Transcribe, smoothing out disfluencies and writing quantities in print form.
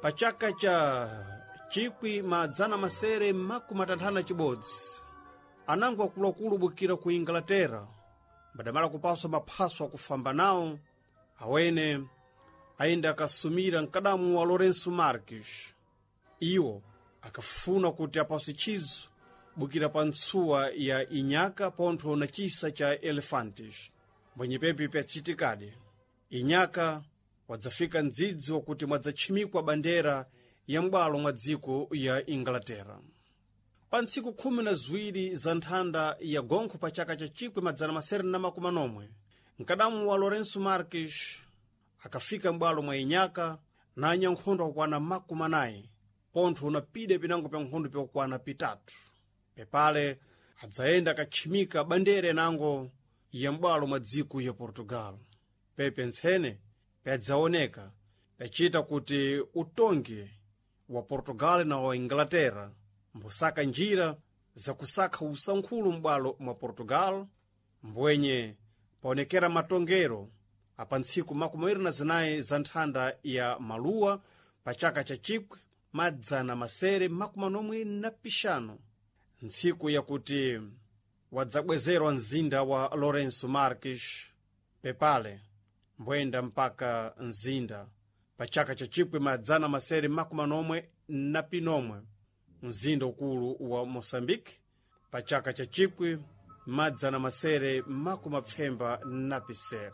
Pa chaka cha 1661, anango akuluakulu bukira ku Inglaterra mbadamala kupaswa maphaso akufamba nawo awene ayenda akasumira mkadamu wa Lourenço Marques. Iwo akafuna kuti apaswe chizo bukira pa ntsuwa ya Inyaka pontho na chisa cha Elefantes. Mbwenyepepi pyachitikadi, Inyaka wadzafika mdzidzi wakuti mwadzatchimikwa bandera ya m'bwalo mwa dziko ya Inglaterra. Pa ntsiku 12 za nthanda ya gonkho pa chaka cha 1640, mkadamu wa Lourenço Marques akafika m'bwalo mwa Inyaka na anyankhondo akukwana 40, pontho unapida pinango pya nkhondo pyakukwana pitatu. Pepale adzayenda akatchimika bandera inango ya m'bwalo mwa dziko ya Portugal. Pepe ntsene pyadzaoneka pyachita kuti utongi wa Portugal na wa Inglaterra mbusaka njira zakusakha usankhulu m'bwalo mwa Portugal, mbwenye paonekera matongero apa ntsiku 24 za nthanda ya maluwa pa chaka cha 1695, ntsiku yakuti wadzabwezerwa mzinda wa Lourenço Marques. Pepale mbwenda mpaka mzinda pa chaka cha 1691, mzinda ukulu wa Moçambique pa chaka cha 1997.